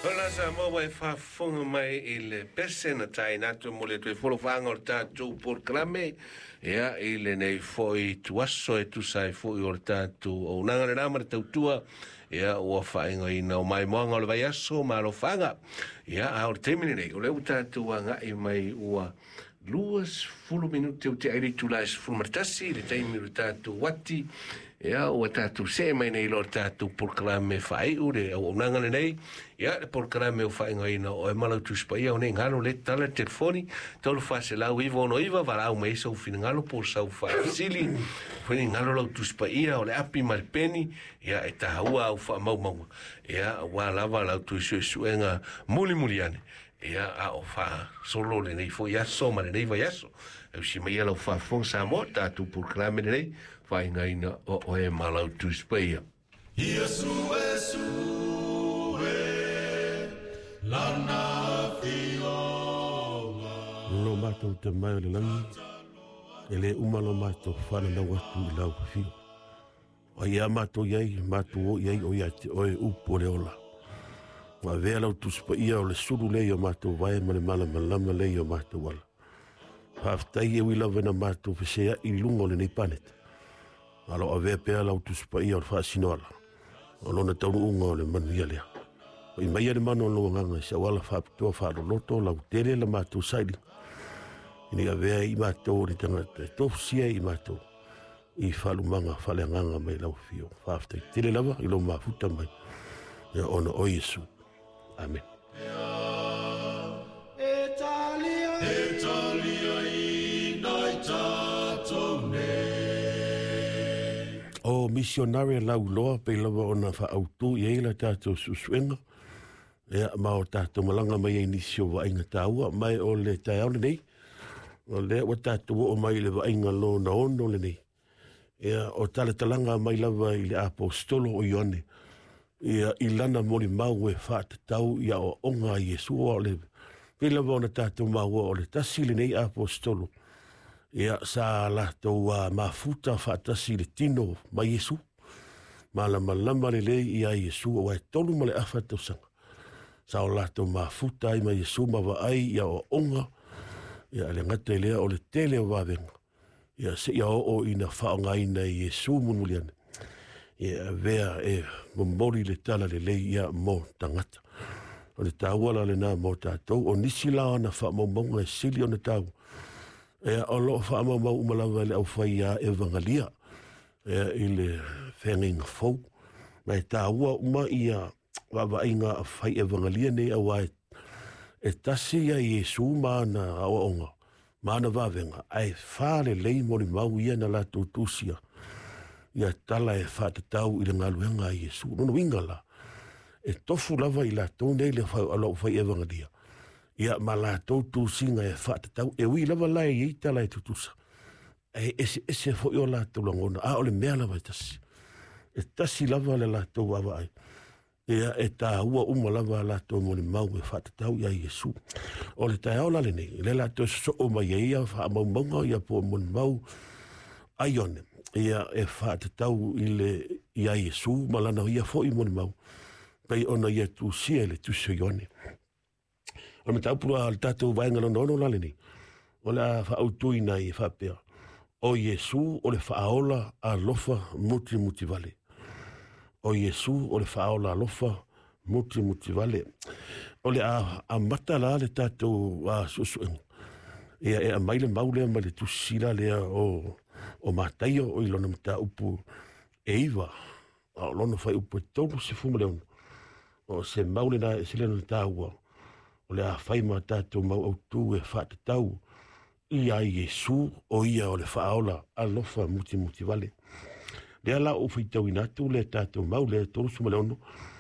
Ola Samoa e faafofoga mai i le pese na taina atu mo le toe folofaaga o le tatou polokalame ia i lenei foi tuaso e tusa ai foi o le tatou auaunaga lena ma le tautua ia ua faaigoaina o maimoaga o le vaiaso ma alofaga. Ia a o le taimi lenei o lea ua tatou agai mai ua 20 minute o te ai le itula e 11 le taimi o le tatou uati. Ia ua tatou see mai nei lo le tatou polokalame faaiu le auaunaga lenei. Ia le polokalame o faaigoaina o e malau Tusi Paia o nei galo le tala telefoni 3499 valaau mai sau finagalo po o sau faafesili finagalo lau Tusi Paia o le api ma le peni ia e taua au faamaumauga ia ua lava lau tui suesuega mulimuli ane ia a o faasolo lenei foi aso ma lenei vaiaso. E usi mai ia lau faafofoga Samoa tatou polokalame lenei faaigoaina o oe ma lau Tusi Paia. Ia sue sue lana afioga. Lo matou te mai o le langi, e le uma lo matou whananau atu i lau whio. O ia matou iai, matou o iai o ia te oe upu o le ola. Ua avea lau Tusi Paia o le sulu lea i o matou vae ma le malamalama lea i o matou ala. Faafetai e ui lava ina matou feseai i luga o lenei paneta. A lo avea pea lau Tusi Paia o le faasinoala, o lona taunuuga o le manuia lea. Oi mai le manu o lou agaga i se auala faapitoa faaloloto lau tele la matou sailiga. Ina ia avea i matou o le tagata e tofusia i matou i faalumaga faaleagaga mai lau afio. Faafetai tele lava i lou mafuta mai. Ia ona o Iesu. Amen. E talia, e talia ina i tatou nei. O missionary lau loa pe lava ona faautu i ai la tatou suesuega. Ia ma o tatou malaga mai ai nisi o vaaiga taua mai o le taeao lenei. O lea ua tatou oo mai i le vaaiga lona ono lenei. Ia o talatalaga mai lava i le apostolo o Ioane. Ia i lana molimau e faatatau i aoaoga a Iesu o le pei lava ona tatou maua o le tasi lenei apostolo. Ia sa latou mafuta faatasi i le tino ma Iesu. Malamalama lelei ia Iesu aua e 3 ma le afa tausaga. Sa o latou mafuta ai ma Iesu ma vaai i aoaoga. Ia le gata i lea o le tele o vavega. Ia seia oo ina faaaogaina e Iesu mulimuliane. Ia avea e momoli le tala lelei ia mo tagata. O le taua la lena mo tatou. O nisi la ona faamaumauga e sili ona taua. Ia o loo faamaumau uma lava e le aufai a evangalia. Ia i le feagaiga fou. Ma e taua uma ia vaavaaiga a fai evangalia nei aua e tasi ia Iesu ma ana aoaoga ma ana vavega ae falelei molimau ia na latou tusia ia tala e faatatau i le galuega a Iesu. Lona uiga la e tofu lava i latou nei le lau fai evangalia ia ma latou tusiga e faatatau e ui lava la e iai tala e tutusa e ese ese foi o latou lagona a o le mea lava e tasi. E tasi lava le latou vaavaai. Ia e taua uma lava latou molimau e faatatau ia Iesu. O le taeao la lenei, le latou sosoo mai ai ia faamaumauga ia po o molimau a Ioane. Ia e faatatau i le ia Iesu ma lana ia foi molimau. Pei ona ia tusia i le tusi o Ioane. O le mataupu la le tatou vaega lona ono la lenei. O le a faautuina ai e faapea. O Iesu o le faaola alofa mutimutivale. O Iesu o le faaola alofa mutimutivale. O le a amata la le tatou suesuega. Ia e aumai le mau lea mai le tusi la lea o Mataio o i lona mataupu e 9. A o lona fuaiupu e 36. O se mau lena e sili ona taua. O le a fai ma tatou mau autu e faatatau ia Iesu o ia o le faaola alofa mutimutivale. Lea la ou faitauina atu le tatou mau lea 36.